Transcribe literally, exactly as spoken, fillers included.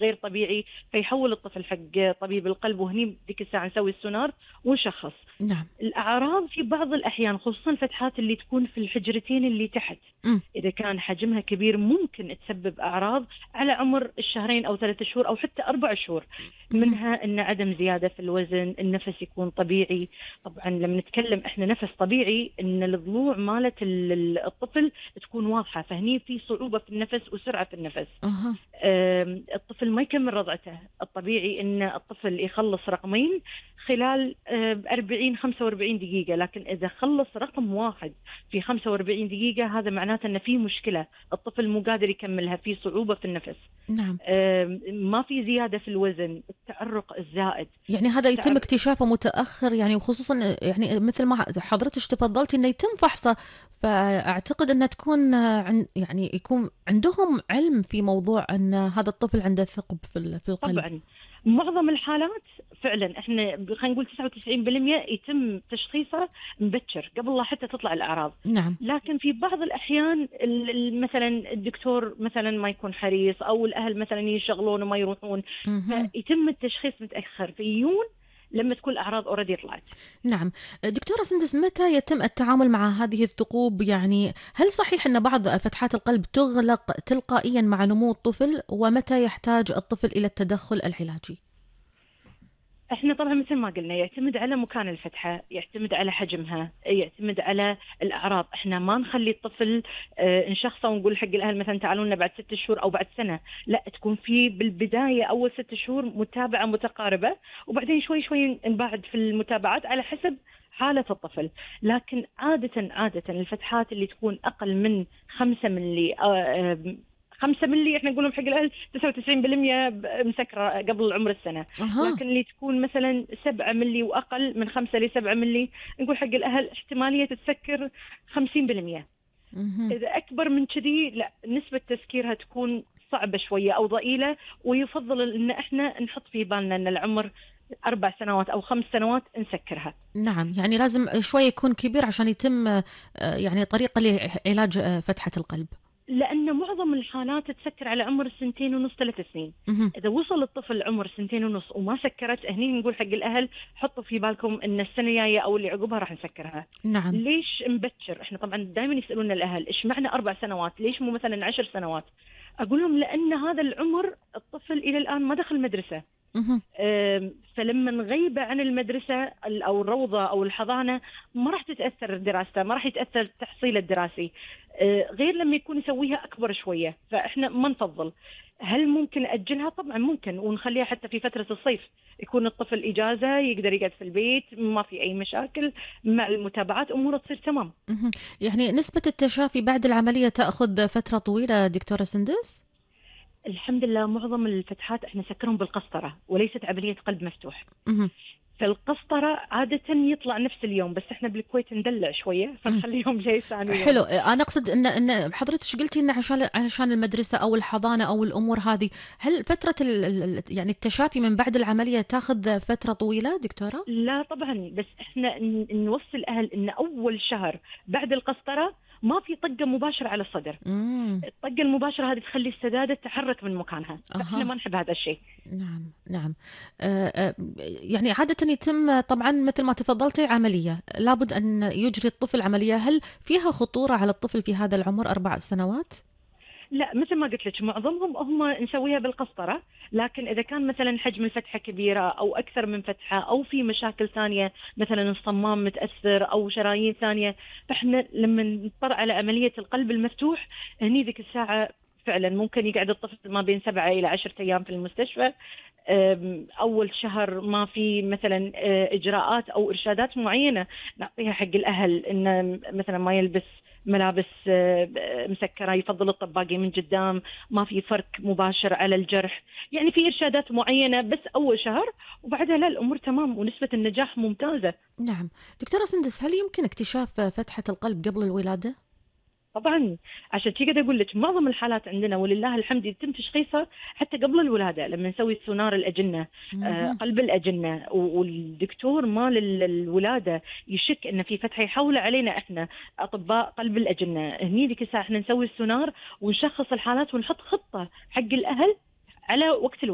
غير طبيعي، فيحول الطفل حق طبيب القلب، وهني ديك الساعة نسوي السونار ونشخص. نعم. الأعراض في بعض الأحيان خصوصا الفتحات اللي تكون في الحجرتين اللي تحت، مم. إذا كان حجمها كبير ممكن تسبب أعراض على عمر الشهرين أو ثلاثة شهور أو حتى أربع شهور. مم. منها أن عدم زيادة في الوزن، النفس يكون طبيعي. طبعا لما نتكلم إحنا نفس طبيعي، أن الضلوع مالت الطفل تكون واضحة، فهني في صعوبة في النفس وسرعة في النفس. أها. الطفل ما يكمل رضعته. الطبيعي أن الطفل يخلص رقمين خلال أربعين خمسة وأربعين دقيقة، لكن إذا خلص رقم واحد في خمسة وأربعين دقيقة هذا معناته أن في مشكلة، الطفل مو قادر يكملها، في صعوبة في النفس. نعم. ما في زيادة في الوزن، التعرق الزائد. يعني هذا يتم اكتشافه متأخر، يعني وخصوصا يعني مثل ما حضرتك تفضلتي انه يتم فحصه، فاعتقد انها تكون عن يعني يكون عندهم علم في موضوع ان هذا الطفل عنده ثقب في في القلب. طبعا معظم الحالات فعلا احنا خلينا نقول تسعة وتسعين بالمئة يتم تشخيصه مبكر قبل لا حتى تطلع الاعراض. نعم. لكن في بعض الاحيان مثلا الدكتور مثلا ما يكون حريص، او الاهل مثلا يشغلون وما يروحون، فيتم التشخيص متاخر، فيجون لما تكون الأعراض أوريدي طلعت. نعم. دكتورة سندس، متى يتم التعامل مع هذه الثقوب؟ يعني هل صحيح أن بعض فتحات القلب تغلق تلقائيا مع نمو الطفل، ومتى يحتاج الطفل إلى التدخل العلاجي؟ احنا طبعا مثل ما قلنا يعتمد على مكان الفتحة، يعتمد على حجمها، يعتمد على الأعراض. احنا ما نخلي الطفل اه نشخصه ونقول حق الأهل مثلا تعالوا لنا بعد ست شهور أو بعد سنة، لا، تكون في بالبداية أول ست شهور متابعة متقاربة، وبعدين شوي شوي نبعد في المتابعات على حسب حالة الطفل. لكن عادة عادة الفتحات اللي تكون أقل من خمسة ملي اه خمسة ملي احنا نقولهم حق الأهل تسعة وتسعين بالمئة مسكرة قبل عمر السنة. أه. لكن اللي تكون مثلا سبعة ملي وأقل من خمسة لسبعة ملي نقول حق الأهل احتمالية تسكر خمسين بالمئة. أه. إذا أكبر من كذي لا، نسبة تسكيرها تكون صعبة شوية أو ضئيلة، ويفضل إن احنا نحط في بالنا إن العمر أربع سنوات أو خمس سنوات نسكرها. نعم، يعني لازم شوي يكون كبير عشان يتم يعني طريقة لعلاج فتحة القلب. لأن معظم الحالات تسكر على عمر السنتين ونص ثلاث سنين. مه. إذا وصل الطفل عمر سنتين ونص وما سكرت، هني نقول حق الأهل حطوا في بالكم إن السنة الجاية أو اللي عقبها راح نسكرها. نعم. ليش مبكر؟ إحنا طبعا دائما يسألون الأهل إيش معنى أربع سنوات؟ ليش مو مثلا عشر سنوات؟ أقول لهم لأن هذا العمر الطفل إلى الآن ما دخل مدرسة. مه. فلما نغيبه عن المدرسة أو الروضة أو الحضانة ما راح تتأثر دراسته، ما راح يتأثر تحصيله الدراسي، غير لما يكون يسويها أكبر شوية. فإحنا ما نفضل. هل ممكن أجلها؟ طبعا ممكن، ونخليها حتى في فترة الصيف، يكون الطفل إجازة يقدر يقعد في البيت، ما في أي مشاكل، مع المتابعات أموره تصير تمام. يعني نسبة التشافي بعد العملية تأخذ فترة طويلة دكتورة سندس؟ الحمد لله معظم الفتحات احنا نسكرهم بالقسطرة وليست عملية قلب مفتوح. مه. فالقسطرة عادة يطلع نفس اليوم، بس احنا بالكويت ندلع شوية فنخليهم جاي ثاني يوم. حلو. انا اقصد ان ان حضرتك قلتي ان عشان عشان المدرسة او الحضانة او الامور هذه، هل فترة ال يعني التشافي من بعد العملية تاخذ فترة طويلة دكتورة؟ لا طبعا، بس احنا نوصي الاهل ان اول شهر بعد القسطرة ما في طقة مباشرة على الصدر. مم. الطقة المباشرة هذه تخلي السدادة تتحرك من مكانها. أه. احنا ما نحب هذا الشيء. نعم نعم. آه آه يعني عادة يتم طبعا مثل ما تفضلتي عملية، لابد أن يجري الطفل عملية. هل فيها خطورة على الطفل في هذا العمر أربع سنوات؟ لا، مثل ما قلت لك معظمهم هم نسويها بالقسطرة، لكن إذا كان مثلا حجم الفتحة كبيرة أو أكثر من فتحة أو في مشاكل ثانية مثلا الصمام متأثر أو شرايين ثانية، فإحنا لما نضطر على عملية القلب المفتوح هني ذيك الساعة فعلا ممكن يقعد الطفل ما بين سبعة إلى عشرة أيام في المستشفى. أول شهر ما في مثلا إجراءات أو إرشادات معينة نعطيها حق الأهل، إن مثلا ما يلبس ملابس مسكرة، يفضل الطباقي من قدام، ما في فرك مباشر على الجرح. يعني في إرشادات معينة بس أول شهر، وبعدها لا، الأمور تمام ونسبة النجاح ممتازة. نعم. دكتورة سندس، هل يمكن اكتشاف فتحة القلب قبل الولادة؟ طبعا، عشان كذا اقول لك معظم الحالات عندنا ولله الحمد يتم تشخيصها حتى قبل الولاده، لما نسوي سونار الاجنه، آه قلب الاجنه، والدكتور مال الولاده يشك ان في فتحه يحول علينا احنا اطباء قلب الاجنه، هني ذيك الساعه احنا نسوي السونار ونشخص الحالات ونحط خطه حق الاهل على وقت الولاده.